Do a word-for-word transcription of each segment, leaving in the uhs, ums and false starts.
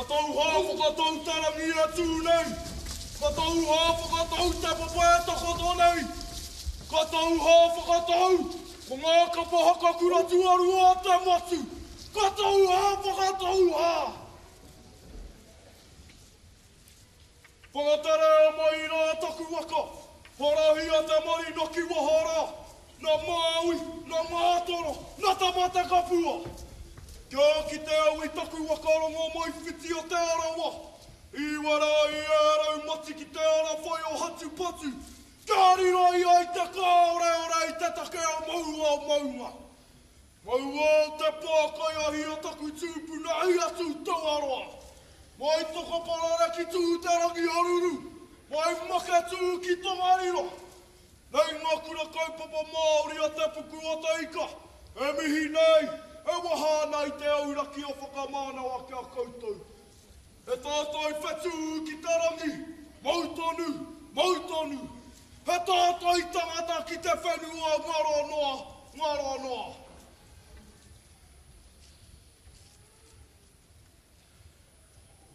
Ka tau hā whakatau te rangi e tū nei. Ka tau hā whakatau te papa e takoto nei. Ka tau hā whakatau ko ngā kapa haka kura tuarua o te motu. Ka tau hā whakatau hā. Whakaterea mai rā taku waka. Horahia te marina ki waho rā. Nā Māui, nā Mātoro, nā Tamatekapua. Kia ki te au i taku waka Rongomaiwhiti o Te Arawa. I wera i e rau mati ki te ara whai o Hatupatu. Kia riro i ai te kāoreore i te take o maua o maunga. Maua o te pākai ahi o taku tūpuna i atu Tauaroa. Mai Tokoparare ki tū te rangi haruru. Mai Maketū ki Tongariro. Nei ngā kura kaupapa Māori a te puku o te ika. E mihi nei, e waha ana i te auraki o whakamānawa ki a koutou. E tātai whetū ki te rangi, mau tonu, mau tonu. He tātai tangata ki te whenua ngaro noa, ngaro noa.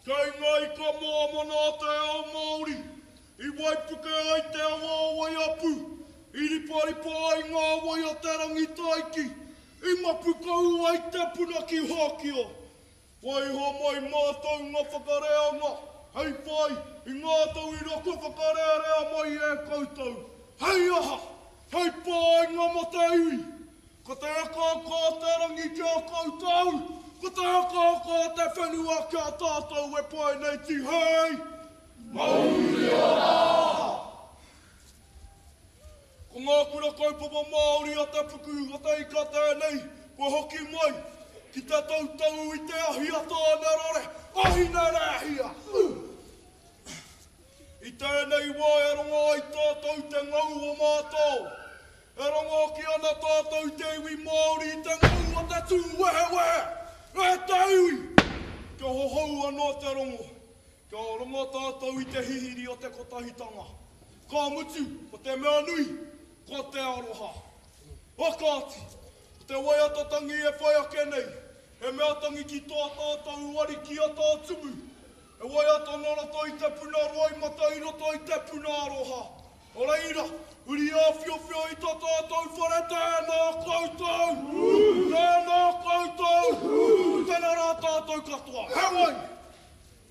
Kei ngā ika moamana o te ao Māori, i waipuke ai te awa o Waiapu, i riparipa ai ngā wai o te Rangitaiki, i mapukau ai te puna ki Hōkio. Waiho mai mātou ngā whakareanga, hei whai i ngā tauira kua whakarearea mai e koutou. Hei aha, hei pāinga mō te iwi. Ko te akaaka o te rangi ki a koutou, ko te akaaka o te whenua ki a tātou e pae nei tihei. Mauri ora! Ko ngā kura kaupapa Māori a te puku o te ika tēnei, kua hoki mai ki te tautau i te ahi a Tāne Rore, ahi nā rēhia! I tēnei wā e rongo ai tātou te ngau o mātao. E rongo ki ana tātou te iwi Māori i te ngau o te tū wehewehe. E te iwi! Kia hohou anō te rongo. Kia rongo tātou i te hihiri o te kotahitanga. Ka mutu, ko te mea nui, ko te aroha. O kāti, ko te waiata tangi e whai ake nei, he mea tangi ki tō tātou ariki a tā tumu. E waiata nō roto i te puna roimata i roto i te puna aroha. O reira, huri āwhiowhio i tō tātou whare tēnā koutou! Tēnā koutou! Tēnā rā tātou katoa. He wai!